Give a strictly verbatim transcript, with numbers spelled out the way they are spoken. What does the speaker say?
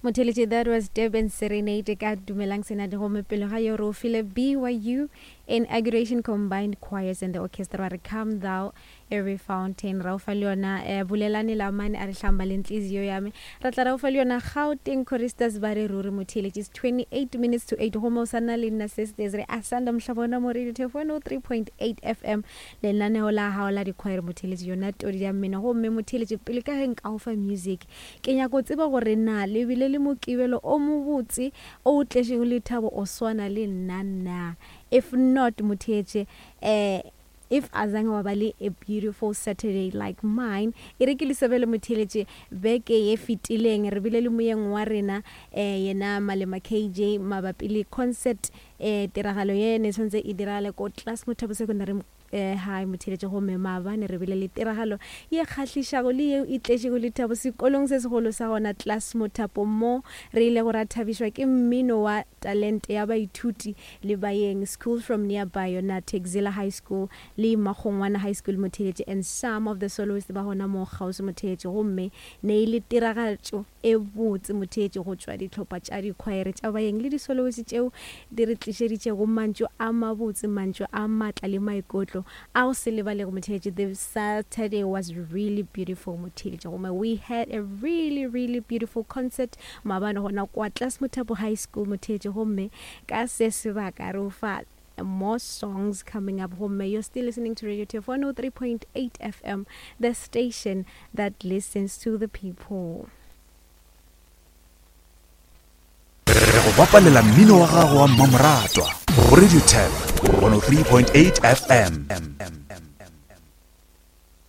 Motheletše, that was Durban Serenade ka Dumelang Senate. Gomme pele ga yo re o file B Y U Inauguration Combined Choirs and the Orchestra, re Come Thou Every Fountain. Ra o fa le yona eh, Bulelane Lamane a re hlamba le ntliziyo yame. Ra tla ra o fa le yona Gauteng Choristers ba re Ruri. Motheletše, is twenty-eight minutes to eight, gomme o sa na le nna sisters re Asanda Mohlabona mo Radio Tef one oh three point eight F M, lenaneo la gago la dikhwaere, motheletše, yona todi ya mmino. Gomme motheletše, pele ka ge nka go fa music, ke nyako tseba gore na le bile le Mokibelo o mobotse o o tletšego lethabo o swana le nna na. If not, motheetše, eh if azange wa ba le a beautiful Saturday like mine, e re ke le sebele. Motheletše, beke ye fetileng re bile le moyeng wa rena eh yena Malema K J mabapi le concert, eh tiragalo ye ne tshwanetse e diragale ko Class Mothapo Secondary eh high, motheletše. Gomme maabane re bile le tiragalo ye kgahlišago le yeo e tletšego lethabo sekolong se segolo sa gona Class Mothapo, mo re ile go ra thabišwa ke mmino wa talente ya baithuti le baeng school from nearby, yona Texila High School le Makgongwana High School, motheletše, and some of the soloists ba gona mo kgauswi, motheletše. Gomme ne e le tiragatšo e botse, motheetše, go tšwa dihlopha tša dikhwaere tša baeng le disoloist tšeo di re tlišeditšego mantšu a mabotse, mantšu a maatla le maikutlo a go se lebalego. Motheetše, the Saturday was really beautiful, motheetše. Gomme we had a really, really beautiful concert maabane gona kwa Class Mothapo High School, motheetše. Gomme ka se sebaka re o fa more songs coming up. Gomme you're still listening to Radio T F one oh three point eight F M, the station that listens to the people. Re go bapalela mmino wa gago wa mmamoratwa go Radio Tef one oh three point eight F M.